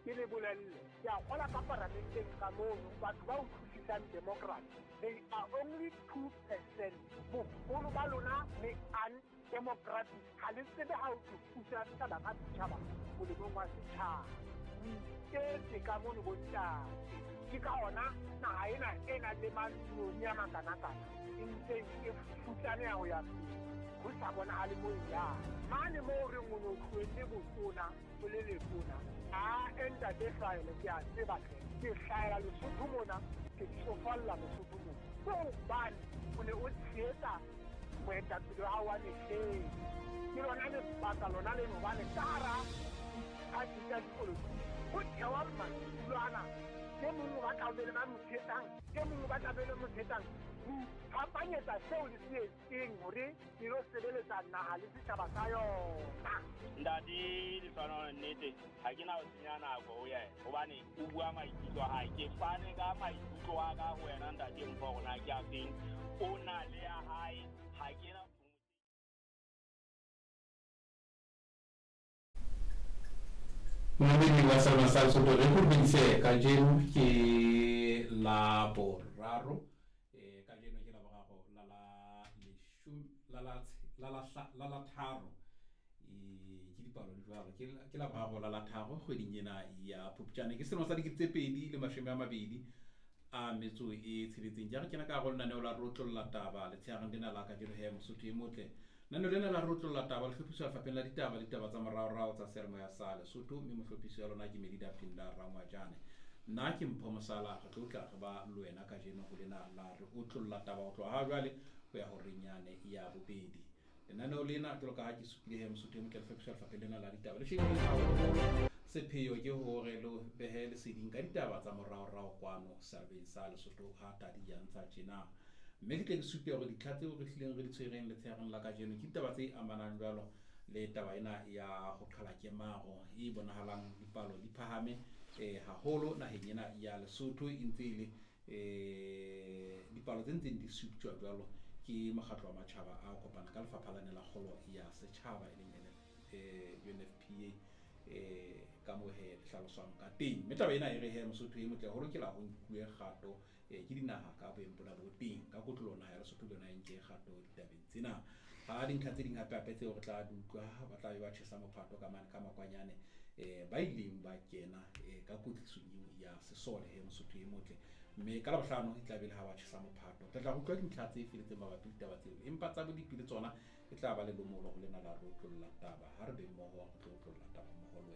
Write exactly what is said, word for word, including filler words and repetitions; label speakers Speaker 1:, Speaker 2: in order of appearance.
Speaker 1: Ke le bolelle, ke a kgola ka paramenteng ka mono batho ba utlwisisang democracy, they are only two percent. Boholo ba lona le undemocratic, ha le tsebe ha o tlo pusa setjhaba ka setjhaba molemong wa setjhaba. O iketse ka mono bontate. Ke ka hona naha ena e nang le mantsione a makanakana e ntse e futsaneha ho ya pele, ho sa bonahale moo e yang. Mane moo re o no tlohelle botona o le letona, a ntate Hlwaele ke a tseba hle, ke hlahela Lesotho mona, ke tsofalla Lesotho mona. Ke hobane o ne o tshehetsa moetapele wa hao wa mehleng. Ke lona lebaka lona leno hobane ka hara diphathi tsa dipolotiki ho thewa madulo ana. E mong o batla ho be le ba mo tshehetsang, e mong o batla ho be le mo tshehetsang. Ho iphapanyetsa seo le se etseng hore le lo sebeletsa naha le setjhaba sa yona.
Speaker 2: Ntate Lehlohonolo, nnete ha ke na ho senya nako ho yena hobane o bua maikutlo a hae. Ke fane ka maikutlo a ka ho wena ntate Mpho hore na ke a feng, o na le ya hae, ha ke na.
Speaker 3: Momamedi wa Salma sa Lesotho, re kurubeditse kajeno ke la boraro, eh kajeno ke la boraro la la leshome la la la la la la tharo, eh ke dipalo di jwalo, ke ke la boraro la la tharo kgweding ena ya Phupjane, ke selemo sa dikete tse pedi le mashome a mabedi a metso e tsheletseng. Ke re kena ka hare ho lenaneo la Rotlolla Taba letshehareng lena la kajeno he Mosotho e motle. Lenaneo lena la Rotlolla Taba le hlophiswa lefapheng la ditaba le ditaba tsa moraorao tsa seyalemoya sa Lesotho, mme mohlophisi wa lona ke Melida Phinda Rangwajane. Nna ke Mpho Mosala, re tlo tla re ba le wena kajeno ho lena la re otlolla taba ho tloha ha jwale ho ya horeng yane ya bobedi. Lenaneo lena jwalo ka ha ke supile he Mosotho e motle le hlophiswa lefapheng lena la ditaba le shebile haholo. Sepheo ke hore le behe leseding ka ditaba tsa moraorao kwano setjhabeng sa Lesotho ha tadi ya ntsha tjena. Mme ke tle ke supe hore ditlha tseo re hlileng re di tshwereng letshehareng la kajeno ke ditaba tse amanang jwalo le taba ena ya ho qhala kemaro e bonahalang dipalo di phahame eh haholo naheng ena ya Lesotho, e ntse e le eh dipalo tse ntseng di suptjwa jwalo ke mokgatlo wa matjhaba a kopana ka lefapha lane la kgolo ya setjhaba e leng U N F P A, eh ka moo he hlaloswang ka teng. Mme taba ena e re he Mosotho e motle ho lokela ho nkuwe kgato eh ke dinaha ka boemo bona bo teng ka kotloloho naha ya Lesotho le yona e nke kgato ditabeng tsena. Ha dintlha tse ding hape hape tseo re tla di utlwa, ba tla be ba tjhesa mophato ka mane ka makwanyane eh ba ileng ba kena eh ka kwetlisong eo ya sesole he Mosotho e motle. Mme ka Labohlano e tla be le ha ba tjhesa mophato, re tla utlwa dintlha tse feletseng mabapi le ditaba tseo, empa tsa bodipi le tsona e tla ba le lomolo ho lena la Rotlolla Taba. Ha re be mmoho re tlo otlolla taba mmoho le wena.